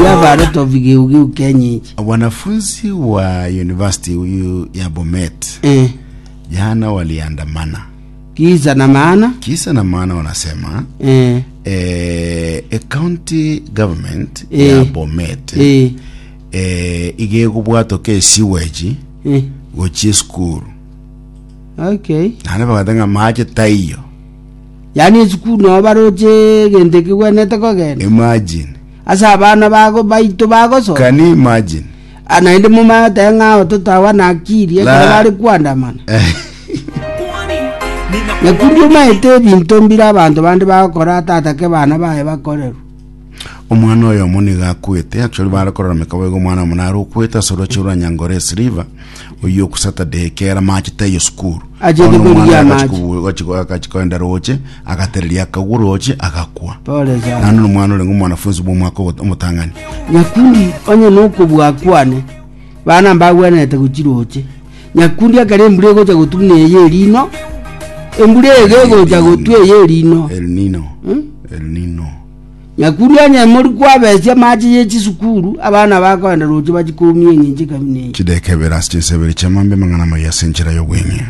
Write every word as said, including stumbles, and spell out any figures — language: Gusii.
We have a lot of geugeu kienyeji. Wanafunzi wa university huyu ya Bomet Eh, jana waliandamana. Kisa na maana. Kisa na maana wanasema eh, eh, a county government Eh. ya Bomet eh, eh, igekobwatoka esiweji eh. gochia esukuru. Okay. Naende bagoteba ng'a mache taiyo. Yani esukuru no baroche egento kegwenete kogenda. Imagine. Ase abana bago baito bagosoma. Can you imagine? Ah, naende momanyete ng'a abatoto aba nakiri ekero La- bare kwandamana. Nyakundi omaete ebinto mbire abanto bande bagokora tatake bana baye bakorerwa. Omwana oyo omo nigo akwete. Actually bare korora mekabo igo omwana omo nare okwete ase oroche rwa Nyangore River oyo ku Saturday kera mache taiyo sukuru. Achete Bono korigia omwana amache. agachi agachi koenda roche agatereria akagwa roche agakwa. Pole sana. Naende na omwana orenge omwanafunzi bwa omwaka ogo- omotang'ani. Nyakundi onye nokobua kwane bana mbagwenerete gochiroche. Nyakundi ekero embura egocha gotwa buna eye erino, embura ege egocha gotwa eye erino. El Nino. Hmm? El Nino. Nyakundi onye mori kwabesia amache ya chisukuru abana bakoenda roche bachikomia eng'encho ekabina eye. Chideka ibere ase chinsebere chiamambe amang'ana amaya ase enchera y'obweng'e.